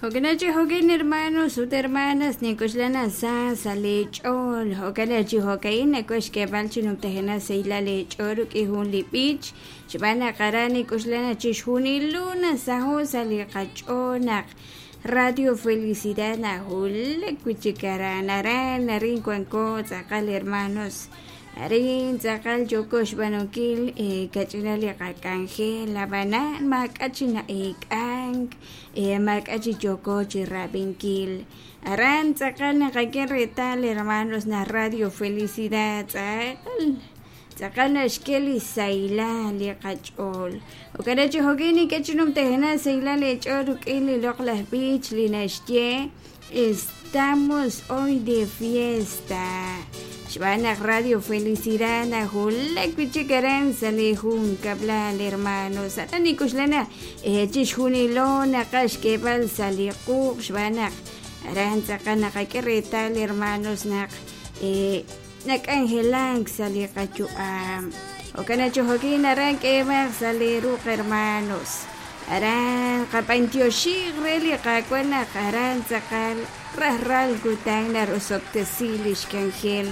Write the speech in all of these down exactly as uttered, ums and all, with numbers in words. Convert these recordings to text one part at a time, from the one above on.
Jo'kan chi jo'kan hermanos ut hermanas ninkuxlana sa sa lech'ool jo'kan chi jo'kain nakuex k'eeb'al chi numtajena sahilal lech'ool rik'in jun li b'ich xb'aan naq aran ninkuxlana chixjunilo nasaho' sa' li qach'ool naq Radio Felicidad najulak wichik aran aran arin wanko tz'aqal hermanos arin tz'aqal yooko xb'aanunkil kach'ina li qak'anjel ab'anan maak'a' chi na'eek'ank maak'a' chi yooko chi rab'inkil aran tz'aqal naqak'e reetal hermanos na Radio Felicidad tz'aqal tz'aqal naxk'e li sahilal li qach'ool jo'kan chi jo'kin nink'e chi numtajena sahilal lech'ool rik'in li loq'laj b'ich li naxye estamos hoy de fiesta xb'aan naq Radio Felicidad najulak wichik aran sa' li jun kab'lal hermanos aran ninkuxlana chixjunilo naqaj xk'eeb'al sa' li quuq xb'aan naq aran tz'aqal naqak'e reetal hermanos naq nak'anjelank sa' li qayu'am jo'kan chi jo'kin aran k'eeb'aq sa' li ruq hermanos aran qab'antioxiq re li qaawa' naq aran tz'aqal rajlal kutan narosob'tesi li xk'anjel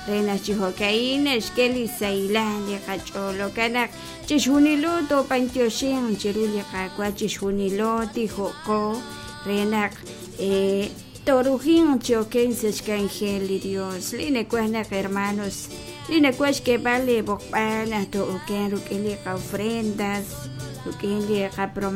re naq chi jo'kain naxk'e li sahilal li qach'ool jo'kan naq chixjunilo toob'antioxin chiru li qaawa' chixjunilo tijo'qo re naq torujin choken sa' xk'anjel li Dios li nakuaj naq hermanos li nakuaj xk'eeb'al li b'oqb'al naq to'oken rik'in li qa'ofrendas rik'in li qapromesas.